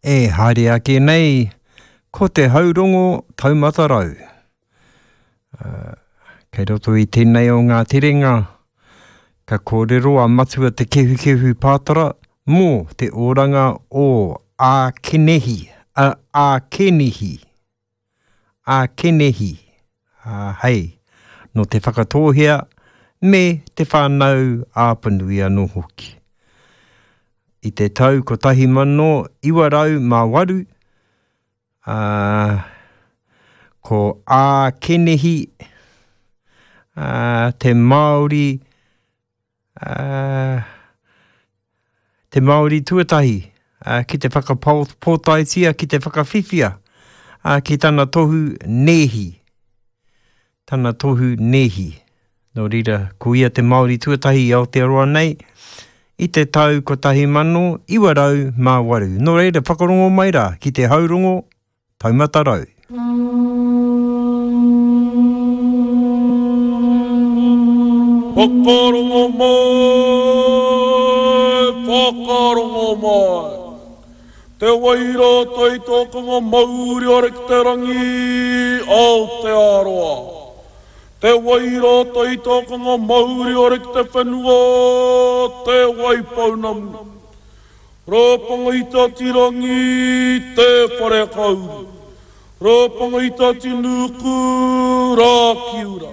E haere ake nei ko te haurongo taumata rau. Kei roto i tēnei o ngā terenga, ka kōrero a Matua Te Kehukehu Pātara mō te oranga o Ākenehi, a Ākenihi, Ākenehi, ā, hei, nō Te Whakatōhea me Te Whānau Āpanui anō hoki. I te tau 1908, ā, ko Ākenehi, ā, te Māori, ā, te Māori tuatahi ā, ki te whakapōtaetia, ki te whakawhiwhia ā, ki tana tohu nēhi. Tana tohu nēhi. Nō reira, ko ia te Māori tuatahi i Aotearoa nei i te tau 1908. Nō reira, whakarongo mai rā ki te haurongo Taumata Rau. Whakarongo mai, whakarongo mai. Te waira taitokanga mauri ora ki te rangi, Aotearoa. Te waira taitokanga mauri ora ki te whenua, Te Waipounamu. Rāpanga i Tatirangi, Te Wharekauri. Rāpanga i Tatinuku, Rākiura.